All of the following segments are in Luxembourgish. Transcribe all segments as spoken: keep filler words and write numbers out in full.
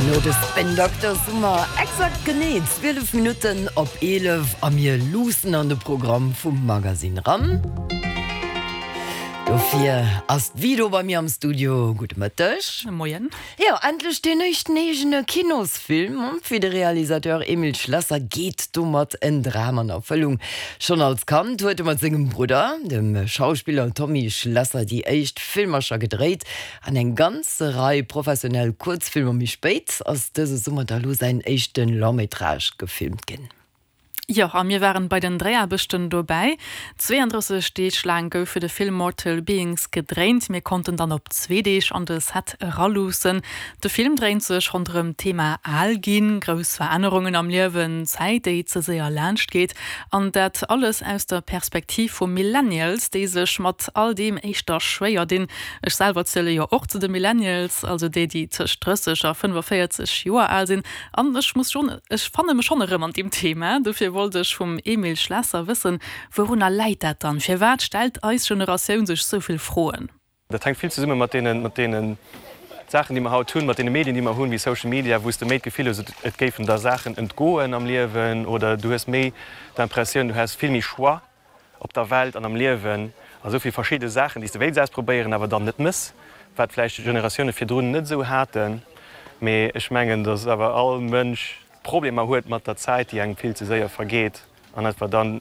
No de Spin Doctors hu mer exakt genee zwielef Minutten op eelef a mir luussen an de Programm vum Magazine ran. Dofir ass d'Vido bei mir am Studio. Gudde Mëtteg. Moien. Jo, endlech deen éischten eegene Kinosfilm. Fir de Realisateur Emile Schlesser geet domat en Dram an Erfëllung. Schonn als Kand huet e mat sengem Brudder, dem Schauspiller Tommy Schlesser, déi éischt Filmercher gedréit. An eng ganz Rei professionell Kuerzfilmer méi spéit ass dëse Summer da lo säin éischte Long-métrage gefilmt ginn. Jo, a mir waren bei den Dréiaarbechten dobäi. zweeëndrësseg Deeg laang gouf fir de Film Mortal Beings gedréint. Mir konnten dann op zwee Deeg an de Set eraluussen. De Film dréint sech ronderëm d'Thema al ginn, grouss Verännerungen am Liewen, Zäit déi ze séier laanscht geet. An dat alles aus der Perspektiv vu Millennials, déi sech mat all deem éischter schwéier dinn. Ech selwer ziele jo och zu de Millennials, also déi, déi tëscht drësseg a fënnefaféierzeg Joer al sinn. An ech muss schonn, ech fanne mech schonn erëm an deem Thema. Dofir wollt ech vum Emile Schlesser wëssen, Wourunner läit dat dann? Firwat stellt eis Generatioun sech sou vill Froen? Dat hänkt vill zesumme mat deenen, mat deene Saachen, déi mer haut hunn, mat deene Medien, déi mer hunn, wéi Social Media, wou s de méi d'Gefill hues, et géifen der Saachen entgoen am Liewen oder du hues méi d'Impressioun, du häss vill méi Choix op der Welt an am Liewen a sou vill verschidde Saachen, déi s de wéilts ausprobéieren, awer dann net mëss, wat vläicht Generatioune virdrun net esou haten. Mee ech mengen, datt awer all Mënsch Problemer huet mat der Zäit, déi engem vill ze séier vergeet an etwa dann,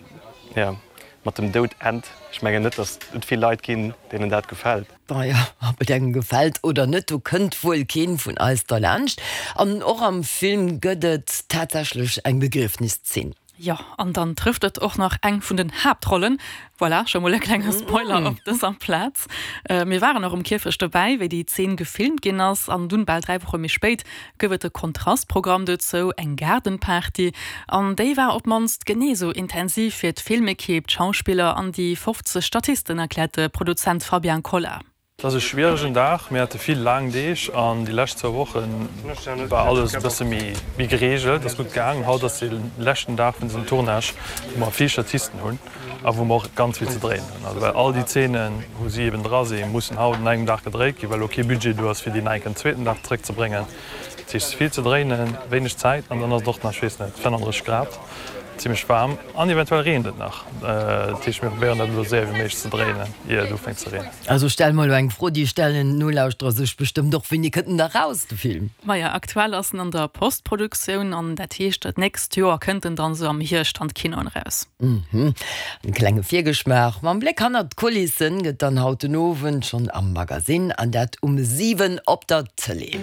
jo, mat dem Doud ennt. Ech mengen net, datt et vill Leit ginn, deenen dat gefält. Naja, ob et engem gefält oder net, do kënnt wuel keen vun eis derlaanscht. An och am Film gëtt et tatsächlech eng Begriefniszeen. Jo, an dann trëfft et och nach eng vun den Haaptrollen. Voilà, scho mol e klenge Spoiler op dëser Plaz. Mir waren och um Kierfecht dobäi, wéi déi Zeen gefilmt ginn ass. An dunn, bal dräi Woche méi spéit, gouf et e Kontrastprogramm dozou, eng Gaardenparty. An déi war op d'mannst genee sou intensiv fir d'Filmekipp, d'Schauspiller an déi fofzeg Statisten, erkläert de Produzent Fabien Colla. Et ass e schwieregen Dag, mir hate vill laang Deeg an déi lescht zwou Woche war alles e bësse méi gereegelt, ass gutt gaangen. Haut ass de leschten Dag vun dësem Tournage, wou mer vill Statisten hunn a wou mer och ganz vill ze dréien hunn. Also well all déi Zeenen, wou si eben dra sinn, mussen haut un engem Dag gedréit ginn, well elo kee Budget do ass, fir déi nach eng Kéier en zweeten Dag zeréckzebréngen. Dat heescht, vill ze dréinen, wéineg Zäit an dann ass et och nach, ech weess net, fënnanddrësseg Grad. Zimlech waarm an eventuell reent et nach. Dat heescht mir probéieren dat elo séier wéi méiglech ze dréinen ier et ufänkt ze reenen. Also stelle mer elo eng Fro, déi stellen d'Nolauschterer sech bestëmmt och, Wéini kënnt en da raus, de Film? Maja, aktuell ass en an der Postproduktioun an dat heescht dat nächst Joer kënnt en dann esou am Hierscht an d'Kinoen eraus. Mhm. En klenge Virgeschmaach mam Bléck hannert d'Kulissen gëtt dann haut den Owend schonn am Magasinn an dat um siwen op der Tëlee.